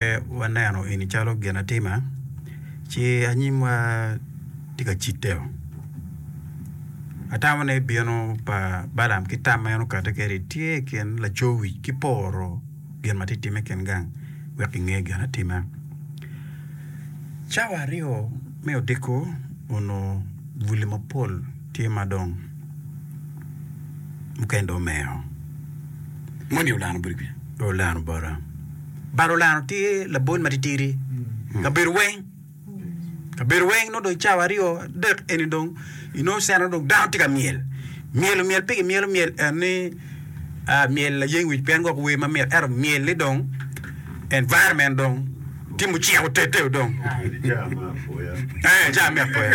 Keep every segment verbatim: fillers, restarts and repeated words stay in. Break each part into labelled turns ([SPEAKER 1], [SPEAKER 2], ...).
[SPEAKER 1] Waneno eni calo gin atima ci anyimwa tye ka cidde-o. Atamo ni bino pa Balaam ki tam ma en okati kwede tye i kin laco wic ki poro gin ma tye ka timme i kin gang wek kinge gin atima. Cawa aryo me odiko onongo buli mapol tye ma dong mukene dong omero.
[SPEAKER 2] Moni olano boti kwica?
[SPEAKER 1] Olano bota. But olano tye labol matitidi kabedo weng kabedo weng nongo dong cawa aryo adek eni dong inongo cene dong dano tye ka myel myelo myel pe gimyelo myel en ni myel layeng wic pien gwok wer mamit ento myel ni dong environment dong tye mucek otete dong ee ca me apoya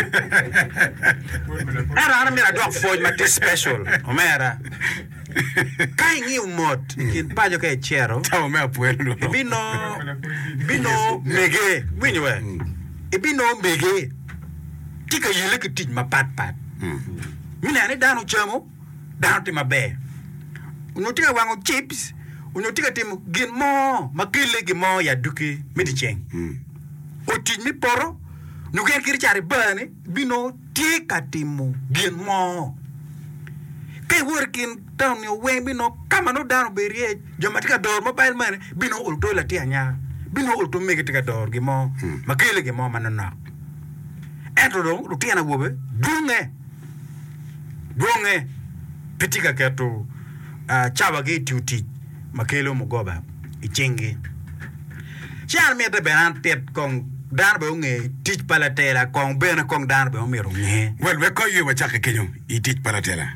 [SPEAKER 1] ento an amyero adwok pwoc ma tye special omera. Ka ingiyo mot i kin paco ka icito, ibinongo mege, iwinyo we? Ibinongo mege tye ka yelle ki tic mapatpat. Me neno ni dano ocamo, dano tye maber. Onyo tye ka wango cips, onyo tye ka timo gin mo ma kelle gin mo i adwogi me dyeceng. Otic me poto, nyo gin kit cat i bar-ni, ibinongo tye ka timo gin mo. Ka iwoto i kin taun-ni weng binongo ka ma nongo dano obedo iye, jo ma tye ka doro mobile money binongo oluto latin anyaka, binongo oluto mege tye ka doro gin mo ma kelo gin mo manonok. Ento dong lutino awobe dwonge, dwonge pe tye ka keto cawagi i tiyo tic ma kelo mugoba i cinggi. Ci an mitte bene an tit kong dano bene onge tic pa latela kong bene kong dano bene omyero onge.
[SPEAKER 2] Well, wek kong aye wacakke kenyo i tic pa latela.